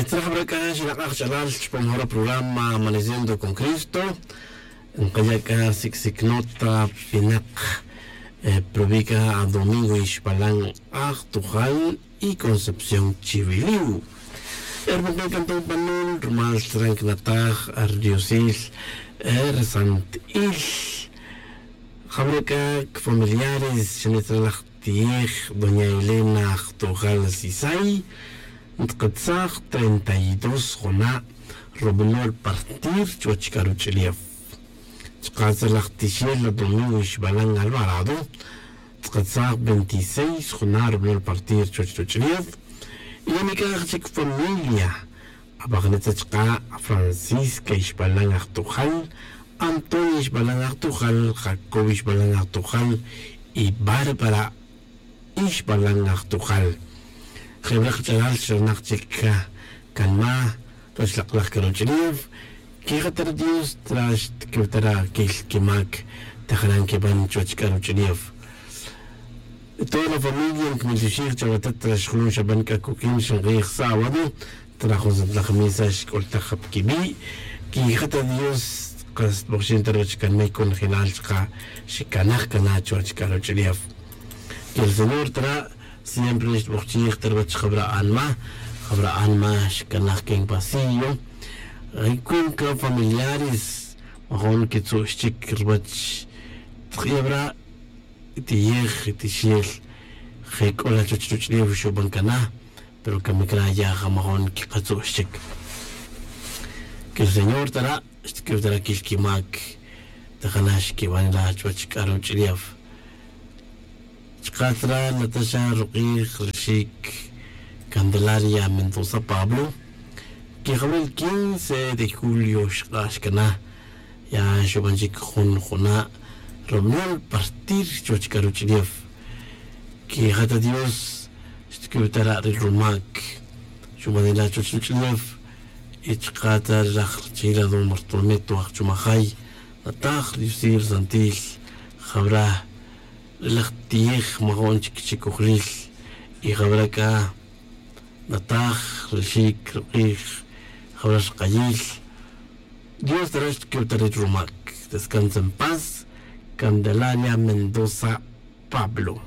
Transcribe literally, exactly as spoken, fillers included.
Tzraj bra c'a xinak'aj ch'alal chupam jora programa Amaneciendo con Cristo. Nkaya' c'a sic'sic nota pinak, eh, provica a Domingo Ixpalan, Ajtujal y Concepción Chiviliu. Hermano, canto panul rumal tran cnataj ardiosil, eh, resant'il. Jabra c'a familiares xanitzralaj tiyej doña Elena Jtojal Sisay, ntkatsaj treinta y dos jona' rubinol partir chuwech c'a ruch'ulef. Chka' tzalaj tixel la Domingo Ixbalan Alvarado, ntkatsaj veintiséis jona' rubinol partir chuwech ruch'ulef. Y ya nic'aj chic familia, abajnetza chka' Francisca Ixbalan Ajtojal, Antonio Ixbalan Ajtojal, Jacob Ixbalan Ajtojal y Bárbara Ixbalan Ajtojal. Jebra' kach'alal xranak chic ca canma' ruwech lak' laj c'a ruch'ulef. Quijatara' Dios tra xtquew tara' quil quimac tajanan queban chuwech c'a ruch'ulef. Toda la familia nquimiltioxij chawe tat tra xjulun xaban c'a coq'uin xank'ij sábado, tra jun santlaj misa xc'ultaj ja pa quibi'. Quijatara' Dios, kas tbojxin ta ruwech canma' y conjelal chka' xicanaj cana chuwech c'a ruch'ulef. Que el Señor tara' siempre xtbojchij ta ruwech jabra' anma, jabra' anma xcanaj que en vacío. Ay cuenca familiares majun quitzu'x chic ruwech. Tk'iyabra' tiyej tixel je c'o la chuwech ruch'ulef xuban cana, pero camic ra ya ja majun quikatzu'x chic. Que el Señor tara' xtquew tara' quil quimac tajanan xqueban la chuwech c'a ruch'ulef. Chka' tara' nataxa ruk'ij rixik Candelaria Mendoza Pablo, que jawil quince de julio xk'ax cana ya xuban chic jun juna' rubinol partir chuwech c'a ruch'ulef. Que ja ta Dios xtquew tara' ri rumac xuban ila chuwech ruch'ulef. Y chka' ta ri raj rachila don Bartolomé Tuaj Chumajay, nataj ri yusil santil jabra' ri laj tiyej majun chic chicojlil. Y jabra' c'a nataj rixik ruk'ij jabra' xkayil. Dios tara' xtquew tara' ri rumac. Descansa en paz, Candelaria Mendoza Pablo.